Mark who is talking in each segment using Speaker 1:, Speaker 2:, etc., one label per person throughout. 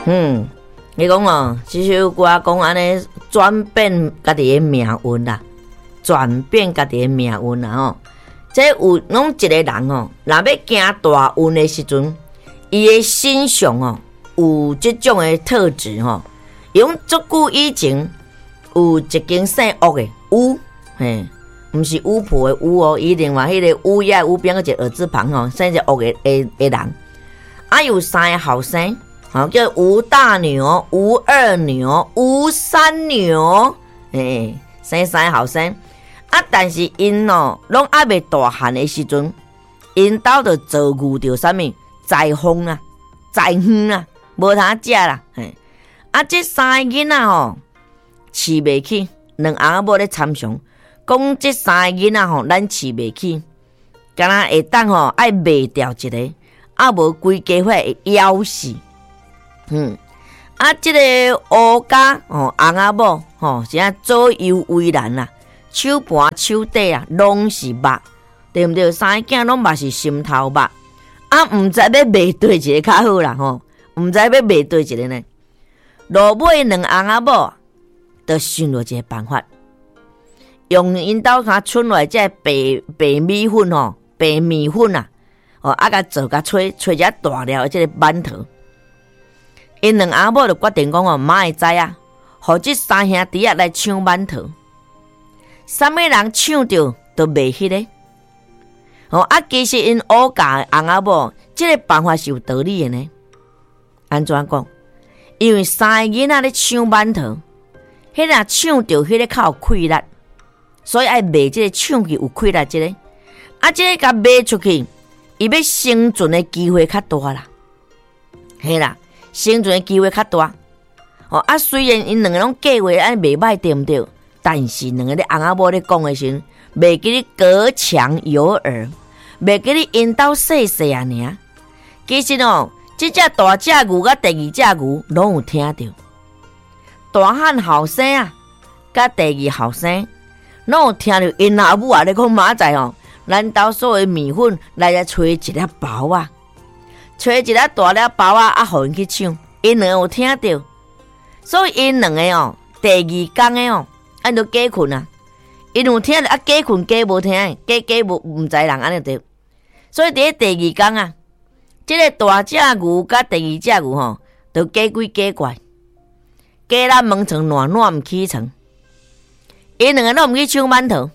Speaker 1: 你講哦，這首歌講按呢轉變家己的命運啦，轉變家己的命運啦吼。這有攏一個人哦，若欲行大運的時陣，伊的身上哦有這種的特質吼。用足久以前有一間姓吳的巫，嘿，毋是巫婆的巫哦，伊另外彼個烏鴉烏邊一個耳字旁吼，姓者吳的人，啊有三个後生。吼，叫吳大牛、吳二牛、吳三牛，欸，生三个後生。啊，但是𪜶哦，攏猶未大漢的時陣，𪜶兜就遭遇著啥物災風啊、災荒啊，無通食啦。嘿，啊，這三个囡仔吼，飼袂起，兩翁仔某咧參詳，講這三个囡仔吼，咱飼袂起，敢若會當吼愛賣掉一个，啊無規家伙會枵死。啊，這個吳家吼，翁仔某吼，是按左右為難啦，手盤手底啊，攏是肉，對毋對？三個囝攏嘛是心頭肉，啊，毋知欲賣佗一个較好啦吼，毋知欲賣佗一个呢？落尾兩翁仔某就想著一個辦法，用𪜶兜較剩落來這個白白米粉吼，白麵粉啊，哦，啊，共做共炊炊一大粒的這個饅頭。𪜶兩翁仔某就決定講哦，媽會知啊，予這三兄弟仔來搶饅頭，啥物人搶著就賣彼个。哦啊，其實𪜶吳家翁仔某這個辦法是有道理的呢。按怎講？因為三个囡仔咧搶饅頭，彼个搶著彼个較有氣力，所以愛賣這個搶去有氣力這个。啊，這个共賣出去，伊欲生存的機會較大啦。嘿啦。生存的機會較大，哦啊！雖然𪜶兩个攏計劃按呢袂䆀對毋對？但是兩个咧翁仔某咧講的時陣，袂記咧隔牆有耳，袂記咧𪜶兜細細仔爾。其實哦，這隻大隻牛佮第二隻牛攏有聽著，大漢後生啊，佮第二後生攏有聽著𪜶老母啊咧講明仔載哦，咱兜所有麵粉來來炊一粒包仔。揣一粒大粒包仔，啊，予𪜶去搶，𪜶兩个有聽著，所以𪜶兩个哦，第二工的哦，按都假睏啊，𪜶有聽著啊，假睏假無聽，假假無毋知人按呢對，所以佇咧第二工啊，這个大隻牛佮第二隻牛吼，就假鬼假怪，假咱門床爛爛毋起床，𪜶兩个攏毋去搶饅頭，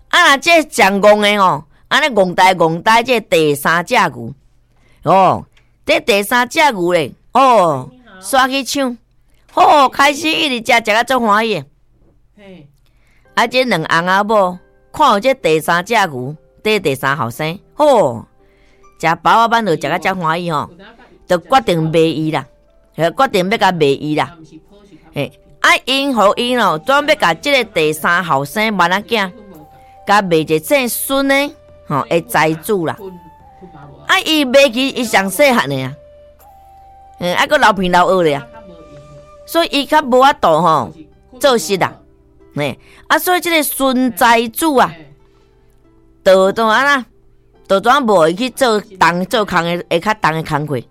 Speaker 1: 啊若這上戇的吼，按呢戇呆戇呆，這第三隻牛。哦，這第三隻牛咧，哦，煞去搶，好開始一直食，食甲足歡喜的。啊，這兩翁仔某看著這第三隻牛，這第三後生，吼，食包仔饅頭食甲遮歡喜吼，就決定賣伊啦，決定欲共賣伊啦。嘿，啊，𪜶予伊哦，準欲共這个第三後生萬仔囝，共賣一个姓孫的，吼，的財主啦。啊！伊賣去，伊上細漢的啊，啊，閣流鼻流惡咧啊，所以伊較無法度吼做事啦，嘿，啊，所以這个孫財主啊，就怎按怎，就怎無伊去做重做工的，會較重的工課，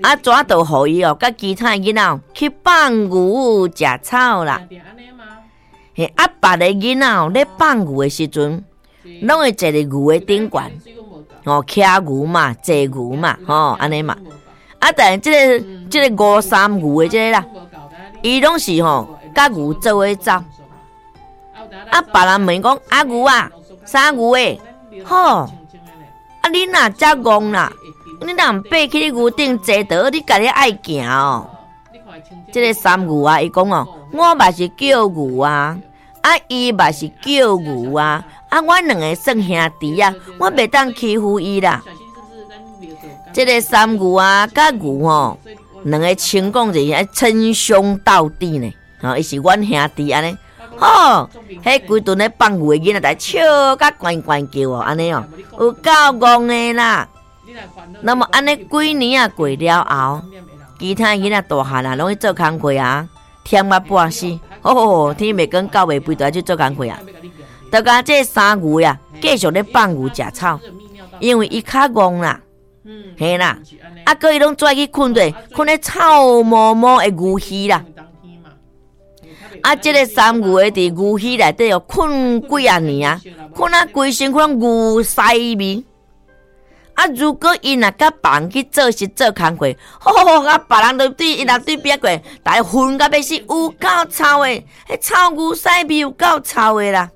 Speaker 1: 啊，怎就予伊哦，佮其他的囡仔去放牛食草啦，嘿，啊，別个囡仔哦咧放牛的時陣，攏會坐佇牛的頂懸。哦，騎牛嘛，坐牛嘛，吼，按呢嘛。啊，但是這个這个吳三牛的這个啦，伊攏是吼，佮牛做伙走。啊，別人問講，阿牛啊，三牛欸，吼，啊，你若遮戇啦，你若毋爬去牛頂坐著，你家己愛行哦。這个三牛啊，伊講哦，我嘛是叫牛啊。啊，伊嘛是叫牛啊！啊，阮兩个算兄弟啊，我袂當欺負伊啦。這个三牛啊，佮牛吼，兩个稱講就是稱兄道弟呢。吼，伊是阮兄弟按呢。吼，彼規陣咧放牛的囡仔在笑甲懸懸叫哦，按呢哦，有夠戇的啦。那麼按呢幾年啊過了後，其他囡仔大漢啊，攏去做工課啊。忝甲半死，吼，天袂光狗袂吠，就愛去做工課啊！就共這三牛啊，繼續咧放牛食草，因為伊較戇啦，嘿啦，啊，閣伊攏跩去睏咧，睏咧臭毛毛的牛墟啦。啊，這个三牛的佇牛墟內底哦，睏幾仔年啊，睏啊規身軀牛屎味。啊，如果伊若佮別人去做事做工課，吼吼，啊，別人就對伊若對邊過，逐家熏甲欲死，有夠臭的，彼臭牛屎味有夠臭的啦。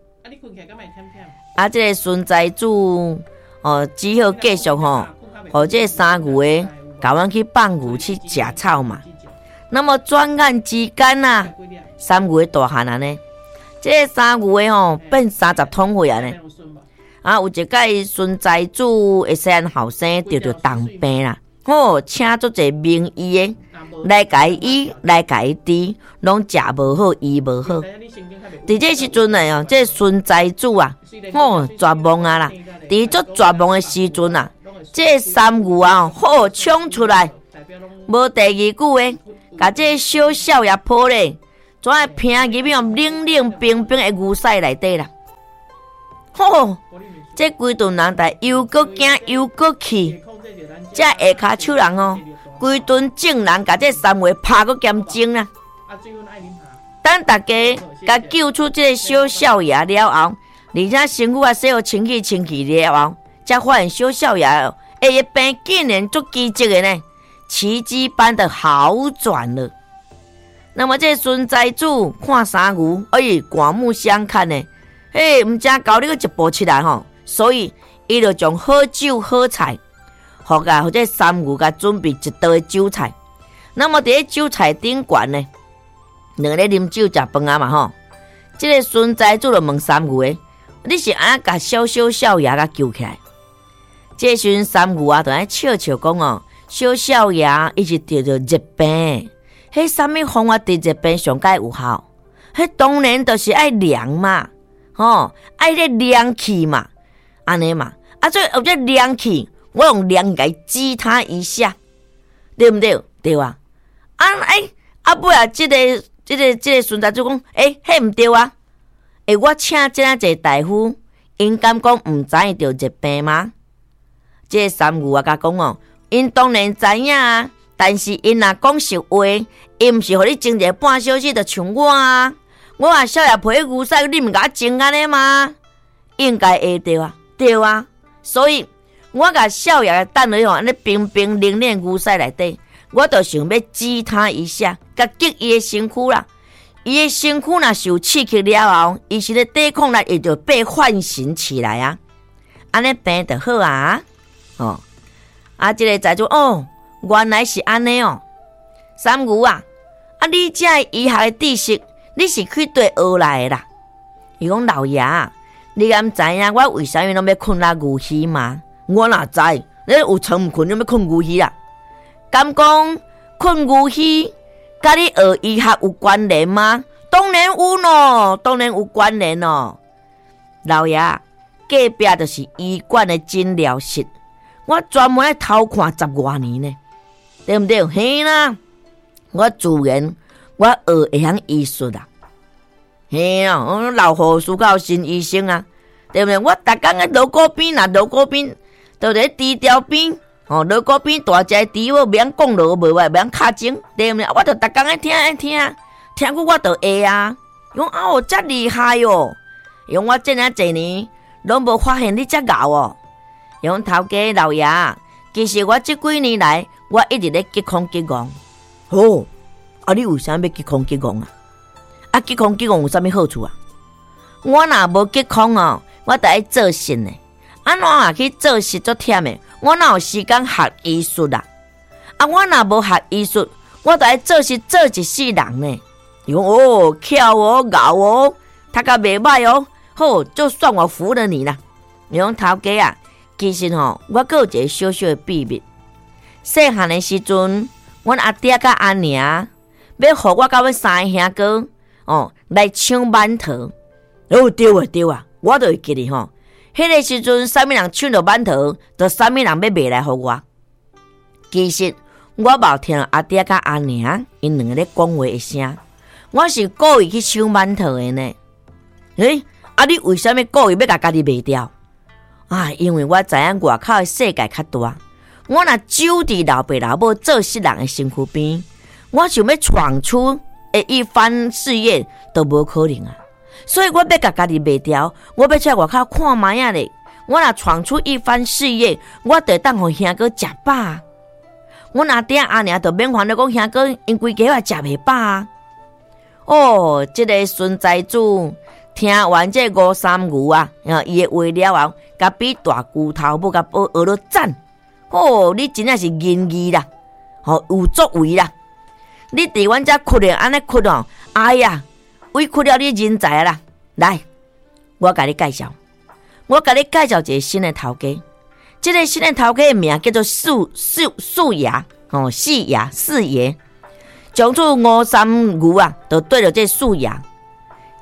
Speaker 1: 啊，這个孫財主哦，只好繼續吼，予這个三牛的共阮去放牛去食草嘛。那麼轉眼之間啊，三牛的大漢按呢，這个三牛的吼變30通歲按呢。啊，有一擺孫財主的細漢後生得著重病啦，吼，請足濟名醫的來共伊醫，來共伊治，攏食無好，醫無好。佇這時陣呢，哦，這孫財主啊，吼，絕望啊啦！佇足絕望的時陣啊，這三牛啊，吼，衝出來，無第二句話，共這小少爺抱咧，怎會拚入去冷冷冰冰的牛屎內底啦？吼！這規頓人逐又閣驚又閣氣，這下跤手人哦，規頓眾人共這三牛拍閣兼蒸啦。等逐家共救出這个小少爺了後，而且身軀也洗予清氣清氣了後，才發現小少爺欸，伊病竟然足奇蹟的呢，奇蹟般的好轉了。那麼這孫財主看三牛，哎，刮目相看呢，嘿，毋知猴你閣一步七來吼，所以伊就將好酒好菜，予共予這三牛共準備一桌的酒菜。那麼佇咧酒菜頂懸呢，兩个咧啉酒食飯仔嘛吼。這个孫財主就問三牛的：你是按怎共小小少爺共救起來？這時陣三牛啊，就按呢笑笑講哦，小少爺伊是得著熱病，彼啥物方法治熱病上蓋有效？彼當然就是愛涼嘛，吼，愛彼涼氣嘛，按呢嘛，啊，所以有這涼氣，我用涼共伊激他一下，對毋對？對啊，啊欸，啊尾仔這个孫財主講，欸，彼毋對啊，欸，我請這爾濟大夫，𪜶敢講毋知𪜶著熱病嗎？這个三牛啊，共講哦，𪜶當然知影啊，但是𪜶若講實話，𪜶毋是予你蒸一个半小時就像我啊，我若少爺抱牛屎，你毋共我蒸按呢嗎？應該會對啊，對啊，所以我共少爺等落去按呢冰冰冷冷牛屎內底，我就想欲激他一下，共激伊的身軀啦。伊的身軀若受刺激了後，伊是咧抵抗力會就被喚醒起來啊，按呢病就好啊。哦，啊，這个財主哦，原來是按呢哦。三牛啊，啊，你這醫學的知識，你是去佗學來的啦？伊講老爺，你敢知影我為啥物攏欲睏佇牛墟嗎？我哪知？你有床毋睏，你欲睏牛墟啦？敢講睏牛墟，佮你學醫學有關聯嗎？當然有喏，當然有關聯哦。老爺，隔壁就是醫館的診療室，我專門來偷看十外年呢，對毋對？嘿啦，我自然我學會曉醫術啦。嘿啊，我老護士到新醫生啊，對毋對？我逐工喺鑼鼓邊若鑼鼓邊，就佇豬條邊，哦，鑼鼓邊大隻豬母袂曉講鑼無袂曉敲鐘，對毋對？我就逐工愛聽愛聽，聽久我就會啊。伊講啊哦，遮厲害哦！伊講我這爾濟年攏無發現你遮𠢕哦。伊講頭家老爺，其實我這幾年來，我一直咧吉空吉戇。哦，啊你為啥欲吉空吉戇啊？啊吉空吉戇有啥物好處啊？我若無吉空哦，我得愛做事呢。按怎啊去做事足忝的？我哪有時間學醫術啊？啊，我若無學醫術，我得愛做事做一世人呢。伊講哦，巧哦，𠢕哦，讀甲袂䆀哦，好，就算我服了你啦。伊講頭家啊，其實吼，我閣有一個小小的秘密。細漢的時陣，阮阿爹佮阿娘欲予我佮阮三个兄哥哦來搶饅頭。哦，對啊對啊，我就會記得吼。彼个時陣，啥物人搶著饅頭，就啥物人欲賣來予我。其實我嘛有聽阿爹佮阿娘𪜶兩个咧講話的聲，我是故意去搶饅頭的呢。欸，啊你為啥物故意欲共家己賣掉？啊，因為我知影外口的世界較大，我若守佇老爸老母做世人的身軀邊，我想欲闖出的一番事業都無可能啊！所以我欲共家己賣掉，我欲出來外口看覓仔咧。我若闖出一番事業，我就會當予兄哥食飽。阮阿爹阿娘就免煩惱講兄哥𪜶規家仔食袂飽啊！哦，這个孫財主聽完這吳三牛啊，伊的話了後，共比大龜頭母共學咧讚。哦，你真正是仁義啦，吼有作為啦！你佇阮遮屈咧，按呢屈哦，哎呀，委屈了你人才啦！來，我共你介紹，我共你介紹一个新的頭家。這个新的頭家的名叫做四四四爺，吼四爺四爺。從此吳三牛啊，就對著這个四爺。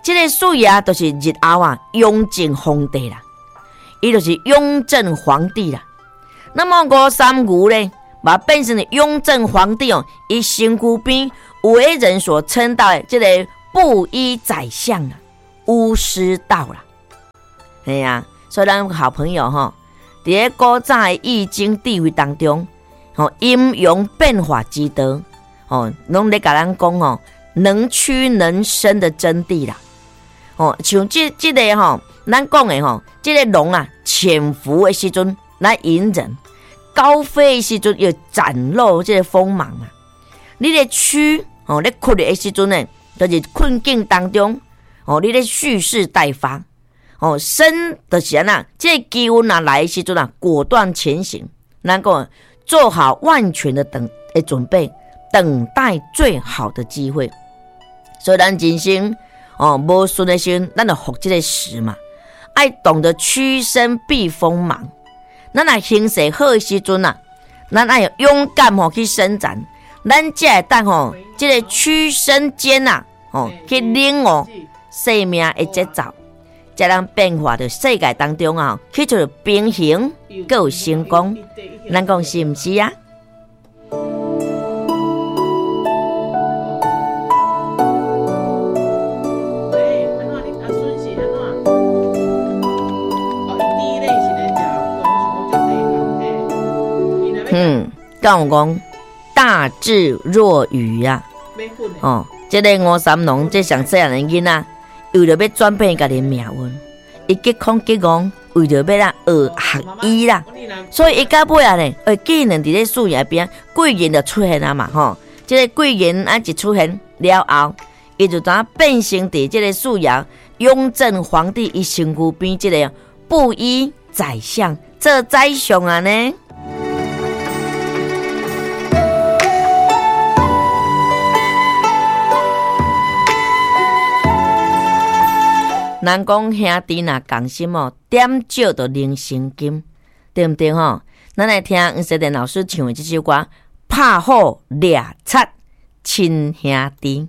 Speaker 1: 這个四爺就是日後啊，雍正皇帝啦，伊就是雍正皇帝啦。那麼吳三牛呢，嘛變成雍正皇帝哦，伊身軀邊為人所稱道的這個布衣宰相啊，巫師道啦。嘿啊，所以咱好朋友吼，佇咧古早的易經智慧當中，吼陰陽變化之道，吼攏咧共咱講吼，能屈能伸的真諦啦。吼，像這這个吼，咱講的吼，這个龍啊，潛伏的時陣來隱忍，高飛的時陣又展露這個鋒芒啊。你咧屈吼，咧屈的時陣呢，就是困境當中，吼，你咧蓄勢待發，吼，伸就是按怎，這個機運若來的時陣啊，果斷前行，咱講做好萬全的等的準備，等待最好的機會。所以咱人生哦，無順的時陣，咱就服這個時嘛，愛懂得屈伸避鋒芒。咱若形勢好的時陣啊，咱愛勇敢吼去伸展，咱才會當吼這个屈伸間啊，吼去領悟生命的節奏，才能變化佇世界當中啊，去做平衡，閣有成功。咱講是毋是啊？敢有講大智若愚啊！哦，這个吳三郎這上細漢的囡仔，為著欲轉變家己的命運，伊激空激戇，為著欲啦學學醫啦，所以伊到尾啊呢，竟然佇咧四爺邊貴人就出現啊嘛吼！這个貴人啊一出現了後，伊就怎變成佇這个四爺雍正皇帝伊身軀邊這个布衣宰相做宰相啊呢？人講兄弟若仝心哦，點石就能成金，對毋對吼？咱來聽黃世典老師唱的這首歌《拍虎掠賊親兄弟》。